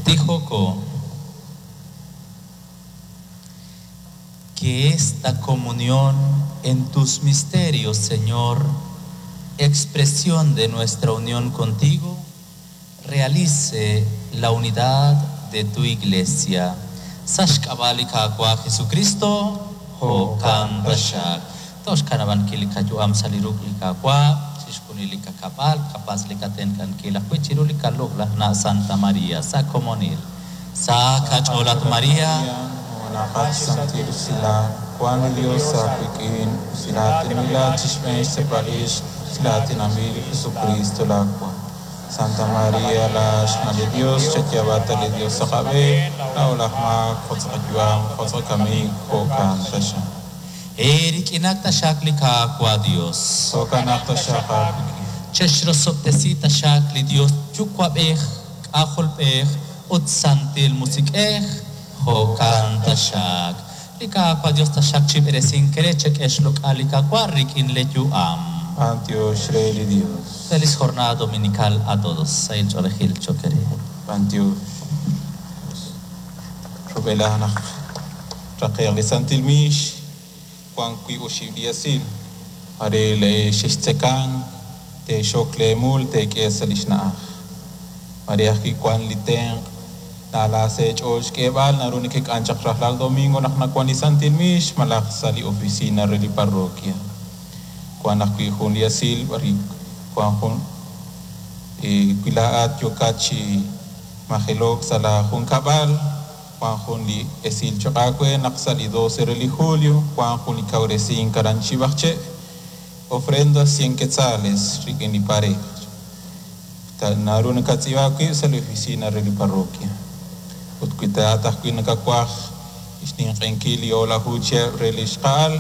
Tijoko. Que esta comunión en tus misterios, Señor, expresión de nuestra unión contigo, realice la unidad de tu iglesia. Sa xk'ab'a' li Qaawa' Jesukristo, jo'kan taxaq. Toj xkanab'ankil li qayu'am sa' li ruq' li Qaawa', chixjunil li qakab'al, qapatz' li qatenq'ankil ajwi' chiru li qalloq'laj Na' Santa Maria, sa' komonil. Sa qach'ool at Maria, Numenaqat xsantil usilal, wank li Yos aawik'in, usilaatinb'ilat chi xb'een xtz'apb'al ix usilaatinanb'il li Jesukriist laawa'. Santa Maria, laa'at xna' li Yos, chayaab'a ta li Yos sa' qab'een, laa'o laj maak, jo' sa' qayu'am, jo' sa' qakamik, jo'kan taxaq. Eerik'inaq taxaq li Qaawa' Yos. Jo'kanaq taxaq aawik'in. Chexrosob'tesi taxaq li Yos Yuwa'b'ej, K'ajolb'ej ut Santil Musiq'ej, jo'kan taxaq. Li Qaawa' Yos taxaq chib'eresink re chek'e xloq'al li Qaawa' rik'in le yu'am. B'antiox re li Dios. Feliz jornada dominical a todos. Sahil ch'oolejil cho'q eere. B'antiox. Rub'elaj naq traqe'q li Santil Miix wank wiib' oxib' li esil. Mare xextzekank, teexok leemul teek'e sa' li xna'aj. Mare ajwi' wank li tenq' na'ala sa' eech'ool xk'eeb'al naru nekek'an chaq rajlal domingo naq nawank li Santil Miix malaj sa' li oficina re li parroquia. Wank ajwi' jun li esil b'arwi' wank jun wi laa'at yookat chi majelo'k sa' laajunkab'al, wank jun li esil cho'q aawe naq sa' li 12 re li julio wank jun li kawresink aran Chib'aqche', ofrenda 100 quetzales rik'in li pareja. Naru nakatz'iib'a aawib' sa' li oficina re li parroquia. Ut wi taat ajwi' nakawaj xninq'ehinkil li o'laju chihab' re li xqa'al,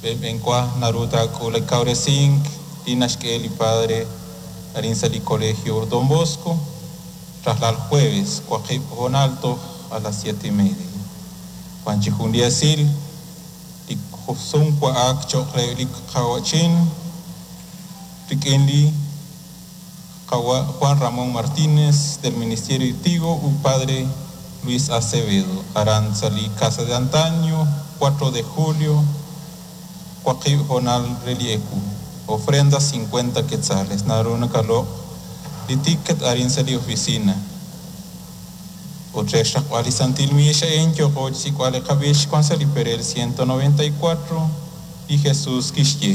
b'enb'enwa naru taak'ul li kawresink li naxk'e li padre arin sa' li Colegio Don Bosco, rajlal jueves, waqib' hoonal toj a las 7:30. Wank chi jun li esil li sumwa'ak cho'q re li qawa'chin rik'in li Juan Ramón Martínez del Ministerio de Tigo u Padre Luis Acevedo, aran sa' li Casa de Antaño, 4 de julio, waqib' hoonal re li ewu. Ofrenda 50 quetzales. Naru nakaloq' li ticket arin sa' li oficina. Ut re xraqb'al li Santil Miix a'in yooqo chi xsik'b'al li qab'ix wank sa' li perel 194 li Jesús kixye.